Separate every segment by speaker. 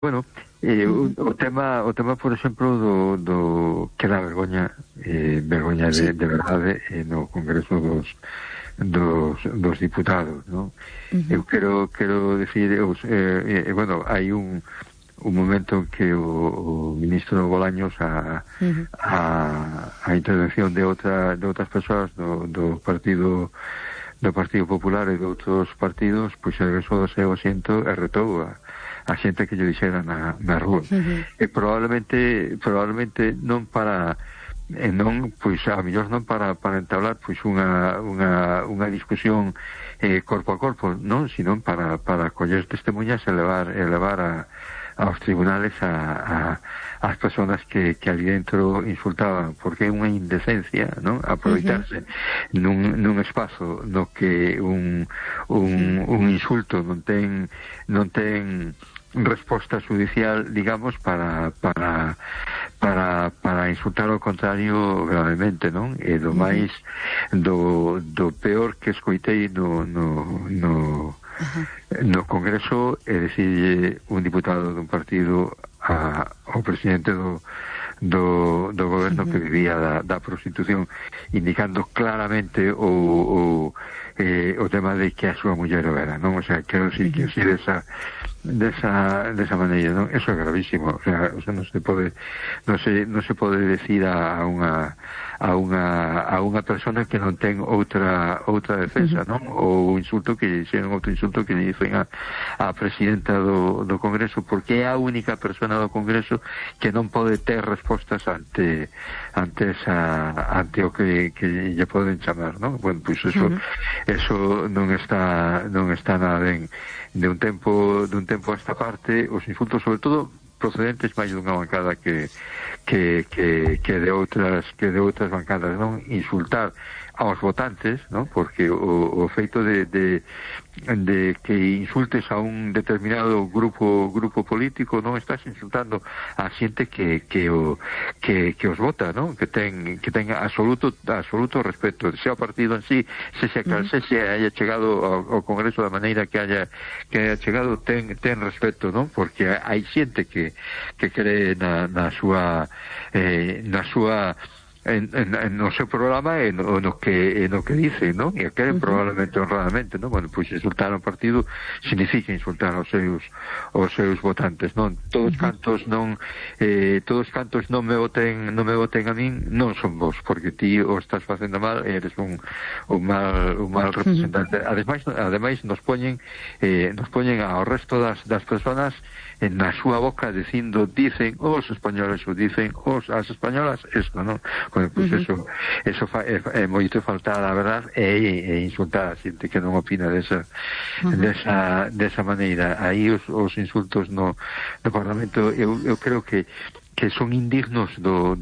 Speaker 1: Bueno, o tema, por exemplo, do que dá vergoña, vergoña
Speaker 2: Sí.
Speaker 1: de verdade no Congreso dos Diputados, non? Eu quero decir, bueno, hai un momento en que o ministro Bolaños a intervención de outras persoas do Partido Popular e de outros partidos, pois regresou do seu asiento e retou a xente que lle dixera na rúa. E probablemente non para non, pois a mellor non para entablar pois unha discusión corpo a corpo, non, sino para coller testemunhas e levar aos tribunales as persoas que ali dentro insultaban, porque é unha indecencia, non, aproveitarse nun espazo no que un insulto non ten resposta judicial, digamos, para insultar ao contrario gravemente, non? E do máis do peor que escoitei no Congreso é dicirlle un diputado dun partido ao presidente do goberno que vivía da prostitución, indicando claramente o tema de que a súa muller o era, non? O sea, quero decir que así desa maneira, non? Eso é gravísimo, o sea, non se pode decir a unha persona que non ten outra defensa, non? Ou insulto que dixeron outro insulto que dicen a presidenta do Congreso, porque é a única persona do Congreso que non pode ter respostas ante o que lle poden chamar, non? Bueno, pois eso non está nada ben. De un tempo a esta parte, os insultos, sobre todo procedentes máis dunha bancada que de outras bancadas, non? Insultar aos votantes, non? Porque o feito de que insultes a un determinado grupo político, non estás insultando a xente que os vota, non? Que ten absoluto respeto, sea o partido en sí, se haya chegado ao Congreso da maneira que haya chegado, ten respeto, non? Porque hai xente que cree no seu programa e no que dice, non? E queren probablemente honradamente, non? Bueno, pois insultar ao partido significa insultar aos seus votantes, non? Todos cantos non me voten a min, non son vos, porque ti o estás facendo mal e eres un mal representante. Ademais nos poñen ao resto das persoas na súa boca dicen os españoles ou dicen as españolas isto, non? Bueno, pois eso é moito faltar a verdade e insultar a xente que non opina desa maneira. Aí os insultos no Parlamento eu creo que son indignos do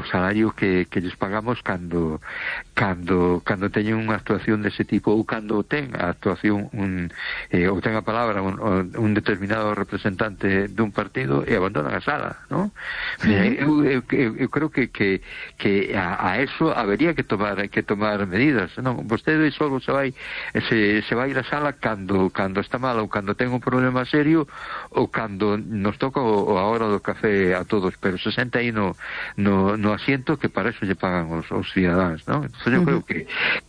Speaker 1: salario que lles pagamos cando teñen unha actuación dese tipo, ou cando ten a actuación ou ten a palabra un determinado representante dun partido e abandonan a sala, non? Eu creo que a eso habería que tomar medidas, non? Vostede só se vai ir a sala cando está mal ou cando ten un problema serio ou cando nos toca a hora do café a todos, pero se senta aí no asiento, que para eso lle pagan os cidadáns, non? Entón eu creo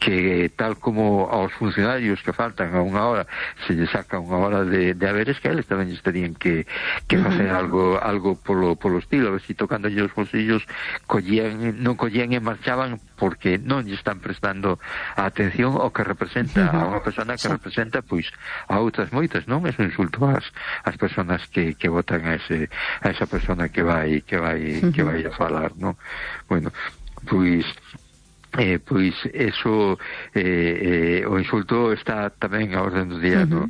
Speaker 1: que tal como aos funcionarios que faltan a unha hora se lle saca unha hora de haberes, que eles tamén terían que facer algo polo estilo, a ver si tocándolle os bolsillos non collían e marchaban, porque non lle están prestando a atención ao que representa a unha persona que representa pois a outras moitas, non? É un insulto ás persoas que votan a esa persona que vai a falar, non? Bueno, pois eso o insulto está tamén a orden do día no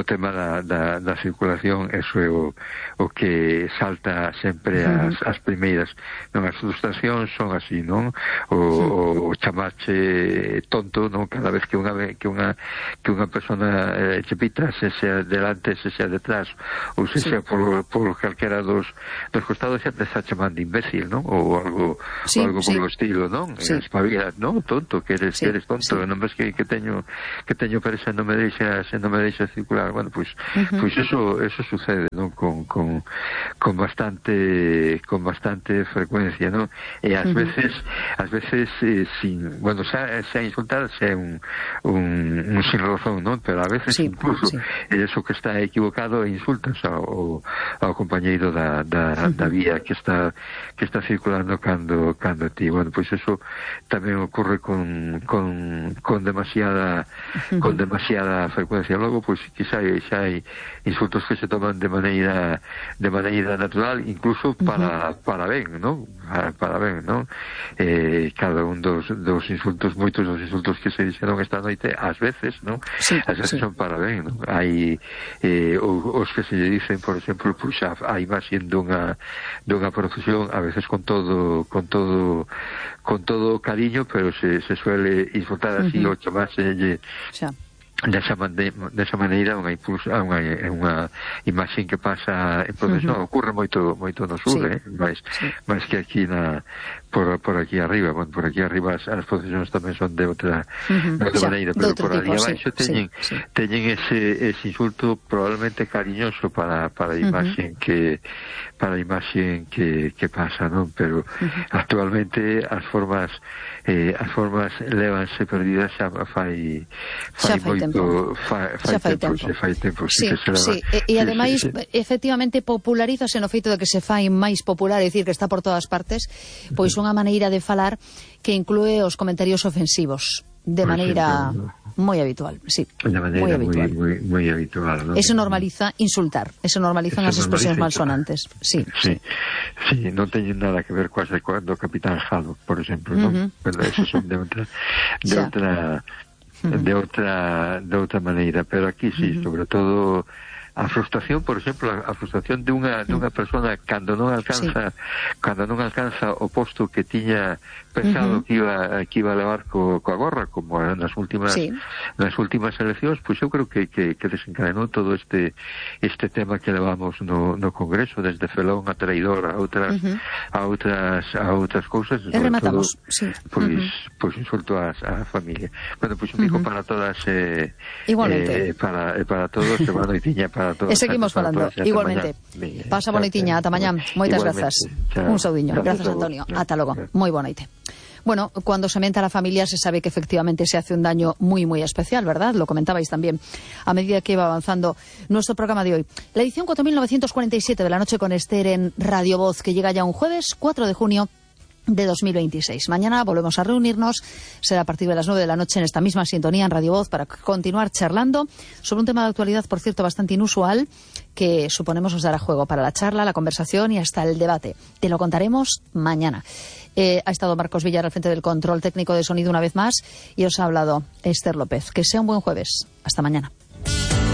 Speaker 1: tema da circulación. Eso é o que salta sempre as primeiras, non? As frustracións son así, non? O chamarche tonto, non? Cada vez que unha persona che pita, se sea delante, se sea detrás ou se sea por calquera dos costados, xa te está chamando imbécil, non? Ou algo polo estilo, non? Espabila no, tonto, que eres tonto, non ves que teño presa, non me deixa circular. Bueno, pues eso sucede, ¿no? con bastante frecuencia, ¿no? E ás veces sin, bueno, xa insultar xa un sin razón, ¿no? Pero a veces incluso eso que está equivocado insultas ao compañeiro da vía que está circulando cando ti. Bueno, pois eso tamén ocurre con demasiada frecuencia. Logo, pois quizá xa hai insultos que se toman de maneira natural, incluso para ben, ¿no? Para ben, ¿no? Cada un dos insultos, moitos dos insultos que se dixeron esta noite, ás veces, ¿no? Ás veces son para ben, ¿no? Hai os que se lle dicen, por exemplo, pois a imaxe dunha procesión, a veces con todo cariño, pero se suele insultar así o chamarse desa maneira unha imaxe que pasa en procesión. Ocurre moito no sur, máis que aquí por aquí arriba. Bueno, por aquí arriba as procesións tamén son de outra maneira, pero por ali abaixo teñen ese insulto probablemente cariñoso para a imaxe que pasa, non? Pero actualmente as formas lévanse perdidas xa fai tempo.
Speaker 2: E ademais efectivamente popularízase no feito de que se fai máis popular, é dicir, que está por todas partes, pois unha maneira de falar que inclúe os comentarios ofensivos de maneira moi habitual, moi habitual, ¿no? Eso normaliza insultar, eso normalizan as expresións malsonantes. Sí,
Speaker 1: non teñen nada que ver coas de cando o Capitán Haddock, por exemplo, non? Pero eso son de outra maneira, pero aquí sobre todo a frustración, por exemplo, a frustración de unha persona cando non alcanza o posto que tiña pensado que iba a levar coa gorra, como nas últimas eleccións, pois eu creo que desencadenou todo este tema que levamos no Congreso, desde felón a traidor a outras cousas.
Speaker 2: E rematamos,
Speaker 1: pois insulto a familia. Bueno, pois un pico para todas,
Speaker 2: igualmente,
Speaker 1: para todos, e boa noitiña para todos.
Speaker 2: E seguimos falando, igualmente. Pasa boa noitiña, ata mañá. Moitas grazas. Un saudiño. Grazas, Antonio. Ata logo. Moi boa noite. Bueno, cuando se aumenta la familia se sabe que efectivamente se hace un daño muy, muy especial, ¿verdad? Lo comentabais también a medida que iba avanzando nuestro programa de hoy. La edición 4947 de la noche con Esther en Radio Voz, que llega ya un jueves 4 de junio de 2026. Mañana volvemos a reunirnos, será a partir de las 9 de la noche en esta misma sintonía en Radio Voz para continuar charlando sobre un tema de actualidad, por cierto, bastante inusual, que suponemos os dará juego para la charla, la conversación y hasta el debate. Te lo contaremos mañana. Ha estado Marcos Villar al frente del control técnico de sonido una vez más y os ha hablado Esther López. Que sea un buen jueves. Hasta mañana.